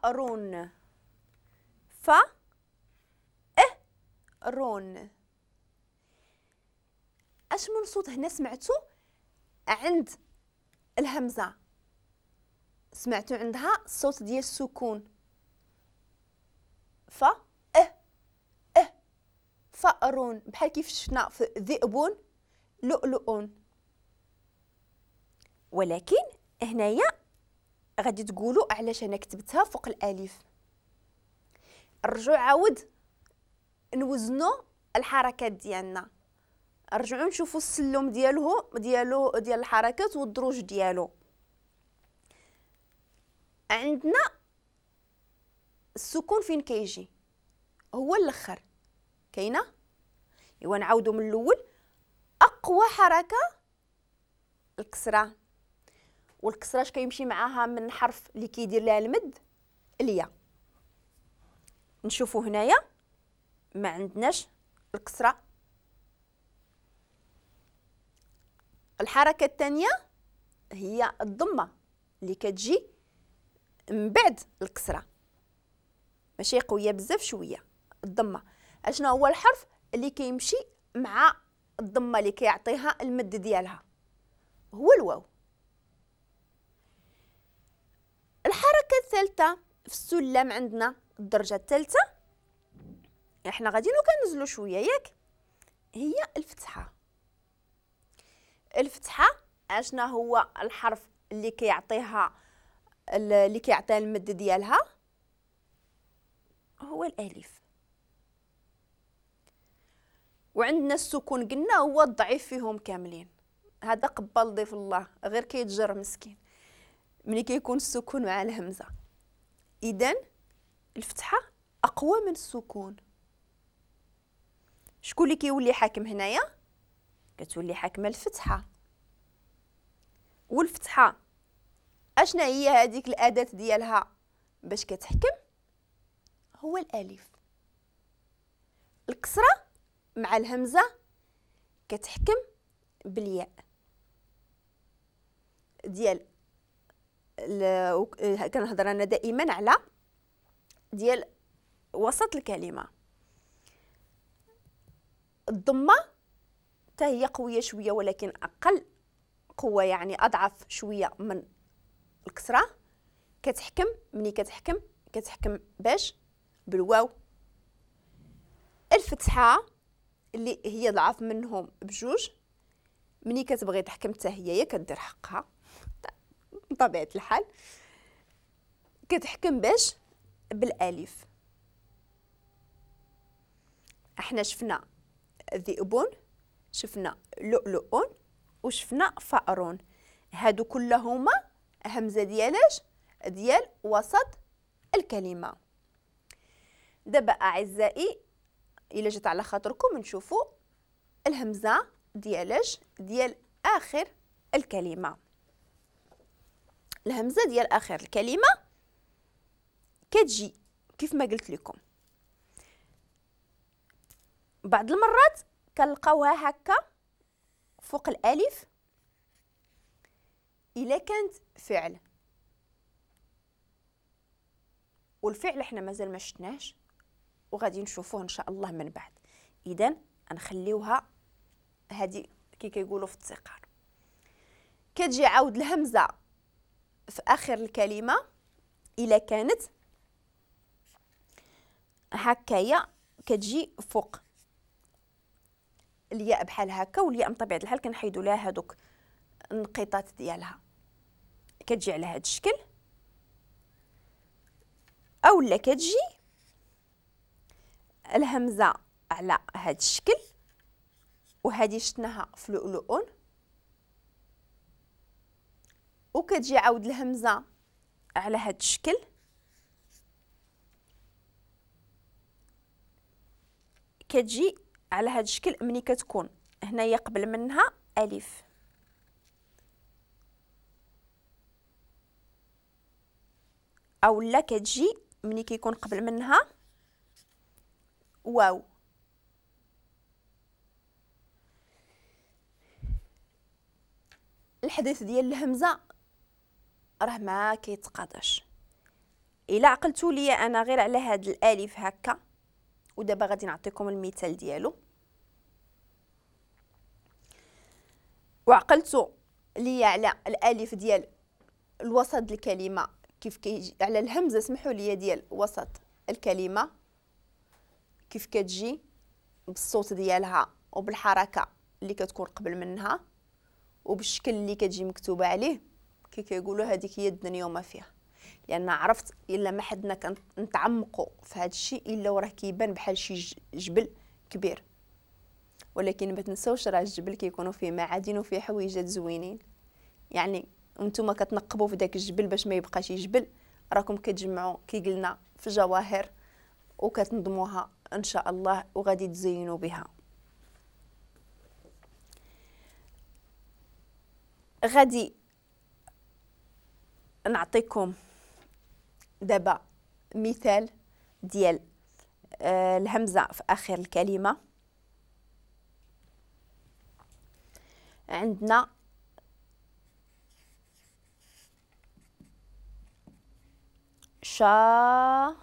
فأرون، ف رون. اش من صوت هنا سمعتو عند الهمزة؟ سمعتو عندها الصوت ديال السكون، ف اه اه فأرون، بحال كيف شفنا في ذئب لؤلؤ. ولكن هنايا غادي تقولوا علاش انا كتبتها فوق الالف. نرجعوا عاود نوزنوا الحركات ديالنا، نرجعوا نشوفوا السلم ديالو ديال الحركات والدروج ديالو. عندنا السكون فين كيجي؟ هو الاخر كاينه. ايوا نعاودوا من الاول. اقوى حركة الكسرة، والكسرة اش كيمشي معاها من حرف اللي كيدير لها المد؟ الياء. نشوفوا هنايا ما عندناش الكسرة. الحركة الثانية هي الضمة اللي كتجي من بعد الكسرة، ماشي قوية بزاف، شوية الضمة. اشنو هو الحرف اللي كيمشي مع الضمة اللي كيعطيها المد ديالها؟ هو الواو. الحركة الثالثة في السلم عندنا الدرجة الثالثة، احنا غاديين وكنزلوا شوية ياك، هي الفتحة. الفتحة اشنا هو الحرف اللي كيعطيها المد ديالها؟ هو الالف. وعندنا السكون قلنا هو الضعيف فيهم كاملين، هذا قبل ضيف الله غير كيتجر مسكين ملي كيكون السكون مع الهمزة. اذا الفتحة اقوى من السكون. شكون اللي كيولي حاكم هنايا؟ كتولي حاكمه الفتحة. والفتحة اشنا هي هذيك الاداة ديالها باش كتحكم؟ هو الالف. الكسرة مع الهمزة كتحكم بالياء ديال كنهضر انا دائما على ديال وسط الكلمة. الضمة حتى هي قوية شوية ولكن اقل قوة، يعني اضعف شوية من الكسرة. كتحكم ملي كتحكم باش؟ بالواو. الفتحة اللي هي ضعف منهم بجوج، ملي كتبغي تحكم حتى هي كدير حقها بطبيعة الحال، كتحكم باش؟ بالالف. احنا شفنا ذئب، شفنا لؤلؤ، وشفنا فأر، هادو كلهما همزه ديالاش؟ ديال وسط الكلمة. دابا اعزائي الا جات على خاطركم نشوفوا الهمزة ديالاش؟ ديال اخر الكلمة. الهمزة ديال اخر الكلمة كتجي كيف ما قلت لكم، بعض المرات كنلقاوها هكا فوق الالف الا كانت فعل، والفعل احنا مازال ما شفناهش وغادي نشوفوه ان شاء الله من بعد. اذا نخليوها هذه كي كيقولوا في التقار. كتجي عاود الهمزة في اخر الكلمة الا كانت هكايا، كتجي فوق الياء بحال هكا، والياء من طبيعة الحال كنحيدوا لها هذوك النقيطات ديالها، كتجي على هذا الشكل. اولا كتجي الهمزة على هذا الشكل، وهذه شفناها في لؤلؤ. وكتجي عاود الهمزة على هذا الشكل، كتجي على هذا الشكل ملي كتكون هنايا قبل منها الف. او لا كتجي ملي كيكون قبل منها واو. الحديث ديال الهمزة راه ما كيتقاضاش. الا عقلتوا لي انا غير على هاد الالف هكا، ودابا غادي نعطيكم المثال ديالو. وعقلتوا لي على الالف ديال الوسط الكلمة كيف كيجي، على الهمزة سمحوا لي ديال وسط الكلمة كيف كتجي بالصوت ديالها وبالحركه اللي كتكون قبل منها وبالشكل اللي كتجي مكتوبة عليه. كي كيقولوا هذيك هي الدنيا وما فيها، لان عرفت الا ما حدنا كنتعمقوا في هذا الشيء الا وراه كيبان بحال شي جبل كبير، ولكن ما تنساوش راه الجبل كيكونوا فيه معادن وفيه حويجات زوينين. يعني انتم كتنقبوا في داك الجبل باش ما يبقاش جبل، راكم كتجمعوا كي قلنا في جواهر وكتنظموها ان شاء الله وغادي تزينوا بها. غادي نعطيكم دابا مثال ديال الهمزة في اخر الكلمة. عندنا شاهد،